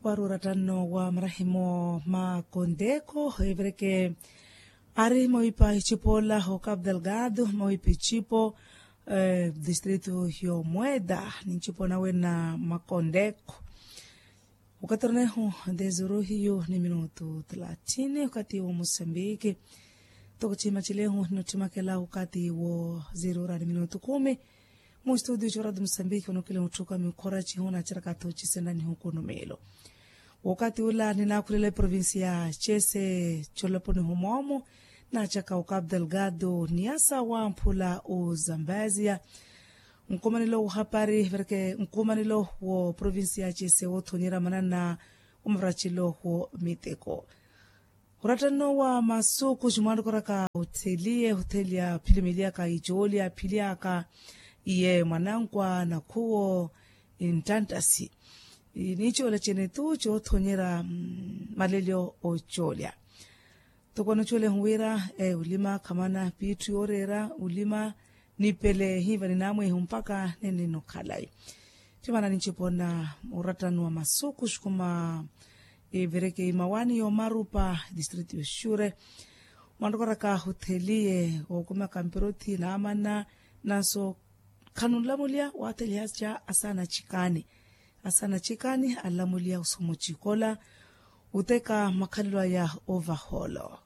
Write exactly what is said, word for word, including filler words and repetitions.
Wari orattanno wa marahimo ma konteeko evireke ari mowipa icipo ola ho capital gado mowipa icipo distrito yo mweda ni ncipo nawe na makonteeko. Okatorneho dezuru hiyo ni minutu thelathini okati wo mosambiki. Toko cima cileho ni nottimakela okati wo zerura ni minutu kumi. Mu studio corado mosambiki onokile otthuka mikhora cihuna cirakato cisenda ni hukunumelo. Wokati ula ninakhulele provincia cese coloponi humwomo nachaka okapu delgado ni asa wamphula ozambazia. Nkumanilo wohapari vereke nkumanilo wo provincia cese wothonyera manana omavaracilo wo miteko. Hurattanno wa masuku ximwanrokoraka otheliye othelia philimeliaka icoolya philiaka iye mwanankwa nakhuwo inttantasi. Nicoolya cene tu coothonyerya malelyo ocoolya. Toko anocoolya ehu wira ulima khamana piitthu yooreera ulima nipele hiiva ninamwehu mpakha nene nokhalai. Ttimana ninchipona orattano wa masuku xukuma evireke imawaani yoomarupa distrito yo xure. Mwanrokoraka otheliye okumaka mpirothi naamana nanso khanunlamulya waathelihasya asaana chikaani. Asaana chikaani anlamulya osomo chikola oteka makhalelo aya ovahoolo.